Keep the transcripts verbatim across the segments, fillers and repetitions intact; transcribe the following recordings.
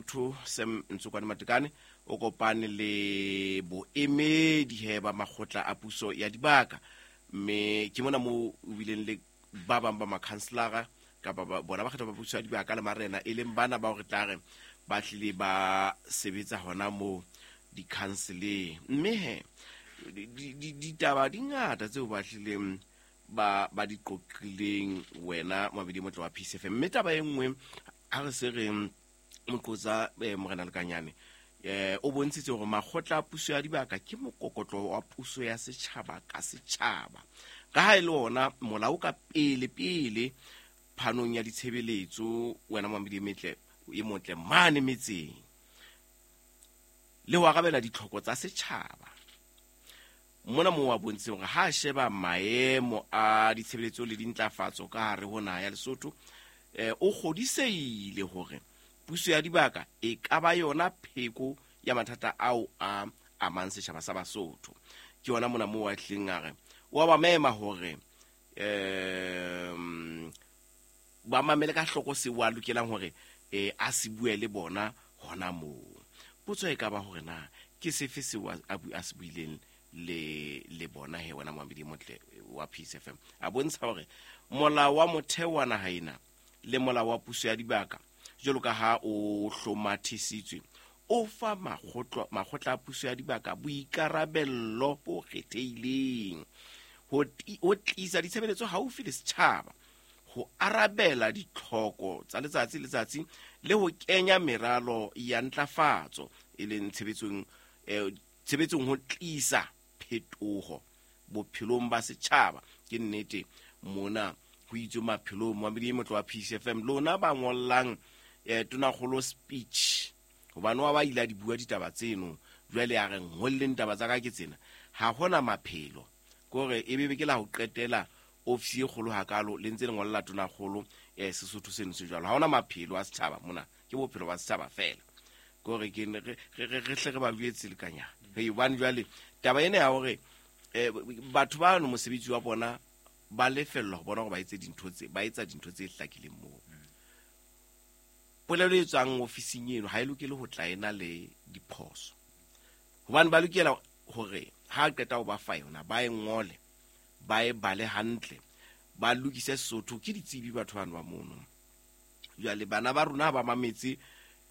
Lesotho Sam Ntsokwane Matekane o kopane le boemedi he ba makgotla a puso ya dibaka, mme ke mona moo o bileng le ba bang ba makhanselara kapa ba bona ba kgetha ba puso ya dibaka le marena, e leng bana ba hore tla re ba tlile ba sebetsa hona moo di-councileng. Mme he ditaba di ngata tseo ba tlileng ba ba di qoqileng wena mabedi motle wa P C F M. Mme taba e nngwe ha re se re moqotsa morena Lekanyane eh o bontshitse hore makgotla a puso ya dibaka ke mokokotlo wa puso ya setjhaba ka setjhaba, ka ha e le ona molao ka pele pele phanong ya ditshebeletso wena mabedi metle e motle mane metseng le ho arabela ditlhoko tsa setjhaba. Mona mo wa bontshitse hore ha sheba maemo a ditshebeletso le dintlafatso ka hare ho naha ya Lesotho, eh o kgodiseile hore puso ya dibaka e ka ba yona pheko ya mathata ao a amang setjhaba sa Basotho. Ke yona mona mo wa tleng a re wa ba mema hore em ba mamele ka hloko se wa lokelang hore eh a se bue le bona hona moo. Potso e ka ba hore na ke sefe se wa a se buileng le le bona he wena Moamedi Motle wa P C F M. A bontsha hore molao wa motheo wa naha ena le molao wa puso ya dibaka jwalo ka ha o hlomathisitswe o fa makgotla makgotla a puso ya dibaka boikarabello bo kgethehileng ho ho tlisa ditshebeletso haufi le setjhaba, ho arabela ditlhoko tsa letsatsi letsatsi le ho kenya meralo ya ntlafatso e leng tshebetsong eh, tshebetsong ho tlisa phetoho bophelong ba setjhaba. Ke nnete mona ho itswe maphelong Moamedi Motle wa P C F M lona ba ngollang eh tonakgolo speech hobane wa ba ile di bua ditaba tseno, jwale a re ngolleng taba tsa ka ke tsena, ha hona maphelo kore e bebe ke la ho qetela ofisi e kgolo hakalo le ntse le ngolla tonakgolo eh Sesotho seno se jwalo. Ha hona maphelo a setjhaba mona, ke bophelo ba setjhaba fela kore ke re re re hle re ba jwetse lekanyana. Hei hobane jwale taba ena ya hore eh batho ba no mosebetsi wa bona ba lefellwa ho bona hore ba etse dintho tse ba etsa dintho tse hlakileng moo. Polelo e tswang ofising eno ha e lokele ho tla ena le diphoso, hobane ba lokela hore ha qeta ho ba fa yona ba e ngole ba e bale hantle ba lokise Sesotho. Ke ditsebi batho bano ba mono. Jwale bana ba rona ba mametse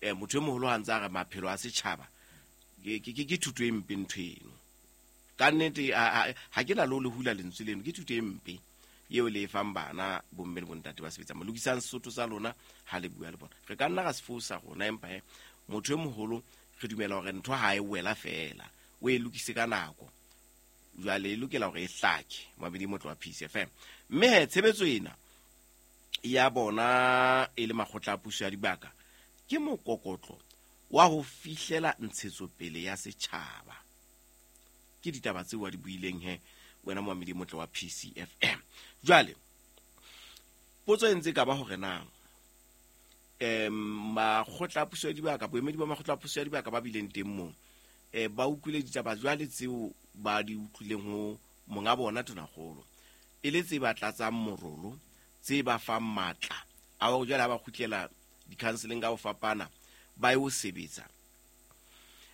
eh motho e moholo ha ntse a re maphelo a setjhaba ke ke ke thuto e mpe ntho eno. Ka nnete ha ke na le ho le hula lentswe leno, ke thuto e mpe eo le e fang bana bomme le bontate ba sebetsang. Lokisang Sesotho sa lona ha le bua le bona. Re ka nna ra se fosa rona, empa he motho e moholo re dumela hore ntho ha e wela fela o e lokise ka nako, jwale e lokela hore e hlake. Mabedi Motle wa P C F M. Mme he tshebetso ena ya bona e le makgotla a puso ya dibaka ke mokokotlo wa ho fihlela ntshetsopele ya setjhaba. Ke ditaba tseo wa di buileng he wena Moamedi Motle wa P C F M. Jwale potso e ntse ka ba hore na em makgotla a puso ya dibaka, boemedi ba makgotla a puso ya dibaka ba bileng teng moo eh ba utlwile ditaba jwale tseo ba di utlwileng ho monga bona tonakgolo e le tse ba tlatsang morolo, tse ba fang matla a hore jwale ha ba kgutlela di-counseling ka ho fapana ba yo sebetsa.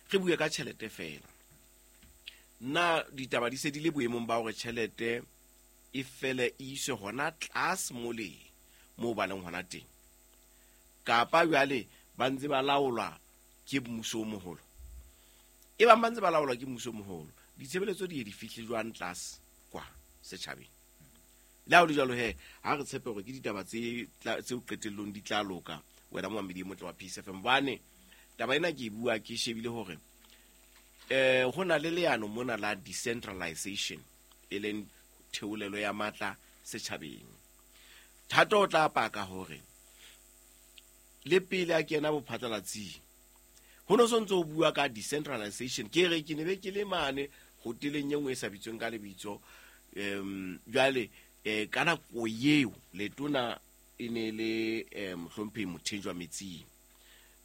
Re bue ka tjhelete fela, na ditaba di se di le boemong ba hore tjhelete e fele e iswe hona tlase mole moo ba leng hona teng, kapa jwale ba ntse ba laolwa ke mmuso o moholo? E bang ba ntse ba laolwa ke mmuso o moholo, ditshebeletso di ye di fihle jwang tlase kwa setjhabeng? Le ha ho le jwalo he ha re tshepe hore ke ditaba tse tseo qetellong di tla loka wena Moamedi Motle wa P C F M. Hobane taba ena ke e bua ke shebile hore eh ho na le leano mona la decentralization e leng theolelo ya matla setjhabeng. Thato o tla paka hore le pele a kena bophatlalatsing ho no sontso o bua ka decentralization. Ke re ke ne be ke le mane hoteleng e nngwe e sa bitsweng ka lebitso em jwale eh ka nako eo letona e ne le eh mohlomphehi Mothenjwa Metsing.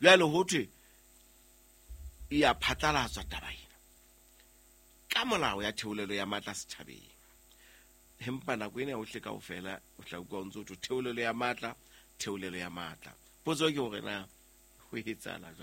Jwale ho thwe e ya phatlalatswa taba ena ka molao ya theolelo ya matla setjhabeng. Empa nako ena yohle kaofela o tla utlwa o ntso theolelo ya matla, theolelo ya matla. Potso ke hore na ho etsahala jwang?